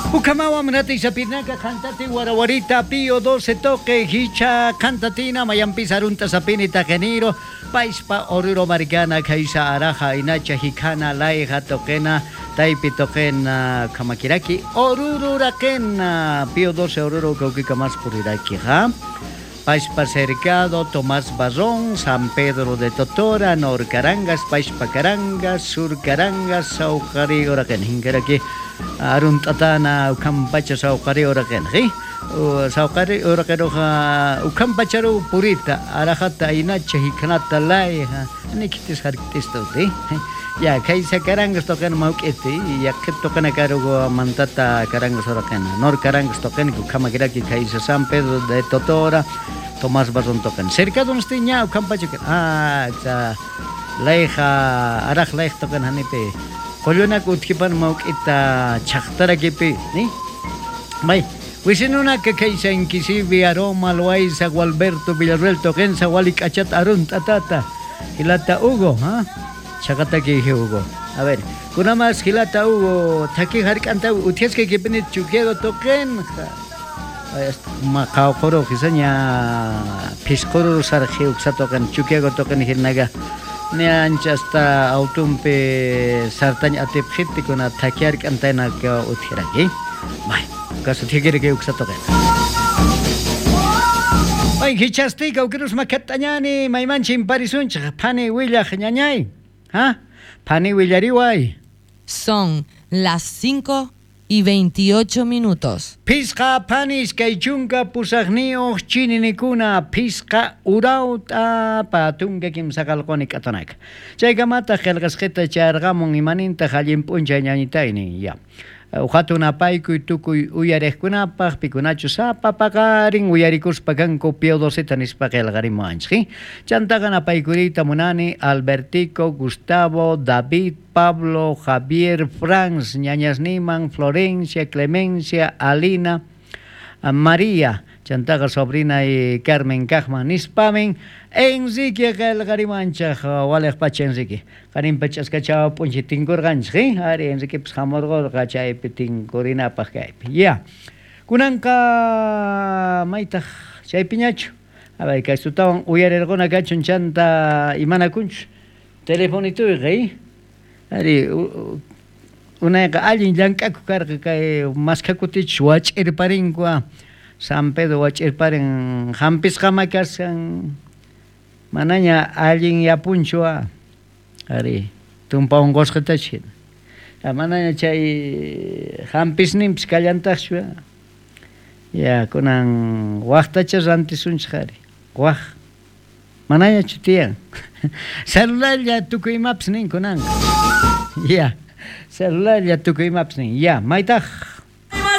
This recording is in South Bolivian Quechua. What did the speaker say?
Ukamawa mnati sapinaka qantati warawarita pío 12 toque hicha kantatina mayampis arunta sapini tajeniro paispa oruro maricana kaisa araja inacha hikana laija toquena taipi toquena kamakiraki oruro raquena pío 12 oruro kaukika más puriraki ha Paispa Cercado, Tomás Barrón, San Pedro de Totora, Nor Carangas, Paispa Carangas, Sur Carangas, Saucari Oraken, Hinkaraki, Aruntatana, Ukampacha Saucari Oraken, ¿sí? Saucari Oraken, Ukampacharu Purita, Arajata, Inacha, Hikanata, Laija, Nikitis Harkitisto, ¿sí? Ya, Kaisa Carangas tocan Mauketi, ya que tocan a cargo Mantata Carangas Oraken, Nor Carangas tocan, Ukamakiraki, Kaisa San Pedro de Totora, Tomás Barrón tocan. Cerca de un Ukampacha, ah, Laija, Araj Laij tocan Hanipe. Qullunak utkipan mawk'ita chaqtarakipi, ni? May, wisinunaka kaysa inkisibi aroma loaiza Gualberto Villarreal toquensa wali k'achat arun tatata. Hilata Hugo, ha? Chaqataki Hugo. A ver, kunamas hilata Hugo, taki hark'anta uthiasqa kipini chukiago toqen. Ma qawquru hisaña pisquru sarji uksatoqen chukiago toqen hirnaga. Ni ancha hasta autumpi sartañ atipjiti kuna takiark'antayna ka uthiraki. Bay, kasu thikiriki uksatoqen. Bay, hichastika ukirus makatañani maymanchin parisunchik phani willaj ñañay. Ha? Phani willariway. Son las 5:28 minutos. Pisqa panis kay chunka pusaqniyuq chininikuna pisqa urawta patunka kimsaqalquni k'atanaka. Chaykamataq qillqasqita charqamun imanintaq allin p'unchay ñañitaynin ya. Uqatun apaykuy tukuy uyariqkunapaq pikunachu sapa paqarin uyarikuspa kanku pío 12 nispa qillqarimuwanchik. Chantaqa napaykuriyta munani Albertico, Gustavo, David, Pablo, Javier, Franz, ñañasniman, Florencia, Clemencia, Alina, María, chantaqa sobrina y Carmen Kajman nispamin, Enrique qillqarimuwanchik, waliq pacha Enrique. Qarinpa ch'askachaw p'unchay tinkurqanchik, ari Enrique pis hamurqurqa chaypi tinkurinapaq kaypi. Ya. Kunanqa maytaq chaypiñachu. A ver, kaysutawan uyarirquna kachun chanta imanakunchu. Telefonituyqa, ari unayqa allin llank'aku karqa kay maskakutichus wach'irparinkua. San Pedro wach'irparin hampisqama kashan manaña allin yapunchua ari tumpa unqusqatachu hina. Manaña chay hampisninpis kallantaqchu. Ya kunan waqtacha rantisunchik ari. Waq manañachu tiyan. Celularlla tukuy imapis nin kunanqa. Ya, celularlla tukuy imapis nin. Ya, maytaq